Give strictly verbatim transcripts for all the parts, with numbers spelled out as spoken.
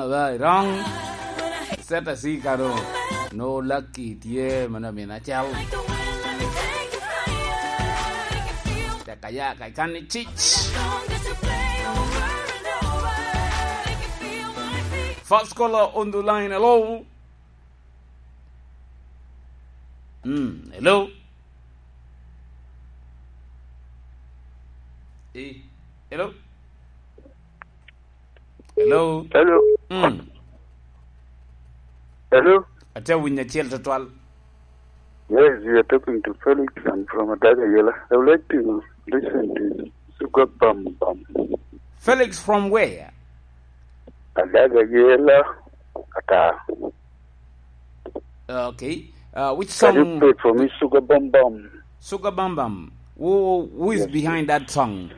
Aba, wrong. Set a C kano. No lucky tye, mano amina cal. Tek aya ka ikan ni cic. First caller on the line, hello. Mm, hello. Eh, hello. Hello. Hello. Mm. Hello. Ate winyo acel tutwal. Yes, you are talking to Felix. I'm from Adaga Yela. I would like to listen to Sugar Bam Bam. Felix from where? Adaga Yela, Qatar. Okay. Uh, which song? Can you play for me, Sugar Bam Bam? Sugar Bam Bam. Who, who is behind that song?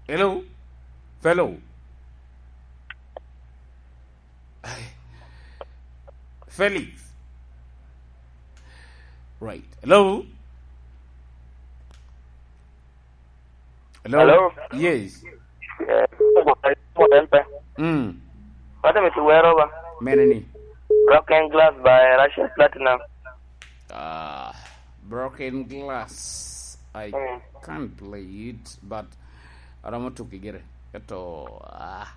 Hello? Fellow? Felix? Right. Hello? Hello? Hello? Yes. Eh, model pe. Mm. What am I to wear over? Mene ni? Broken Glass by Russian Platinum. Ah, Broken Glass. I Mm. can't play it, but aromo tuki gire. Eto, ah.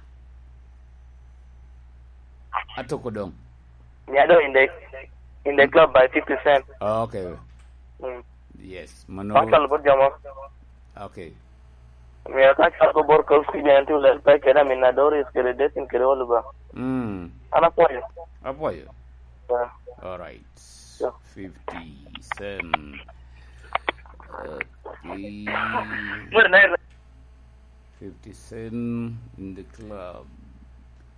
Atoko dong. Yeah, no, in the, in the club by fifty Cent. Oh, okay. Mm. Yes, mano. Pastor Lubot Jomo. Okay. Miyo ka cal ko bor ko kuja en tu lel pe kede amin na Doris kede Desin kede Oliver. Mm. An apwoyo. Apwoyo. Yeah. All right. Yeah. fifty Cent. Okay. Mwere na fifty Cent in the club.